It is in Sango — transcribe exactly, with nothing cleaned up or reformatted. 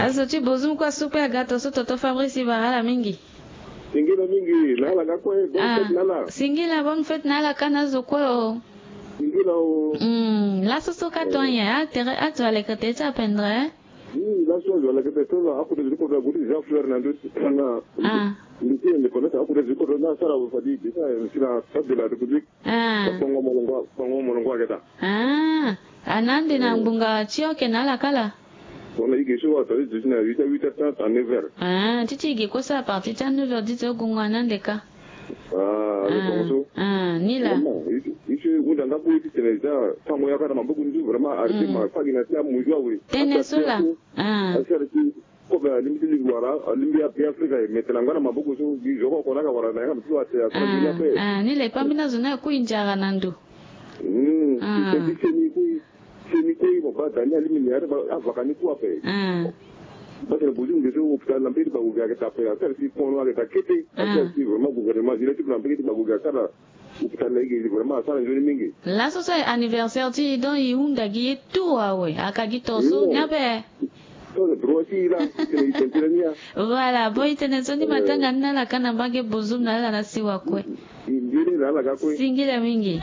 Azo ti Bozum kue asu kue aga to so toto Fabrice Ibarala mingi. Singila mingi na ala ga kue, bonne fête na ala. Singila, bonne fête na ala ka na azo kue o. Singila o. Hmm, laso so ka to anyen, a tere azo alekete ti apendre. Hmm, laso azo alekete so na akute ti kodro ague ti Jean Fleur na ndo ti na ndo ti indépendance akute ti kodro na asara fadi bisa si na Stade de la République. Ah. Kpongo molongo, kpongo molongo ayeke daa. Ah, a na ande na ngbonga ti oke na ala kala. Tongana e ge so atali duti na huit heures, huit heures trente à neuf heures. Ah, ti ti e ge kue so à partir ti a neuf heures dite ogongo a na ande ka. Ah, le tongo so. Ah, ni laa. Vraiment, e si hunda nga kue ti tene eza tango yaka na maboko ni so vraiment arrêté ma fagi na ti amozu awe. Tene so laa. Ah. Asara ti Kobe alingbi ti lingbi wala alingbi ape Afrika e mete na nga na maboko so gi zo oko na yaka wala na yanga na ti lo ate asara gi ni ape. Ah, ni le pambeni azo ni akui nzara na ndo. Hmm, ah. Ti seni kue, seni kue mo baa da ni alingbi ni are avaka ni kue ape. Ah. Parce que Bozum ge so hôpital na mbeni ti Bagoge ayeke daa ape, asara si kono ayeke daa kete. Ah. Asara si vraiment gouvernement zi le ti lo na mbeni ti Bagoge asara. Hôpital na e ge vraiment asara nzoni mingi. Laso so aye anniversaire ti e donc e hunda gi ye tout awe, aka gi to so ni ape. So le droit ti e laa, titene e tene tënë ni ya. Voilà, bon, e tene so ni matanga ni na ala ka na mbage Bozum na ala na siwa kue. E nzoni na ala ga kue. Singila mingi.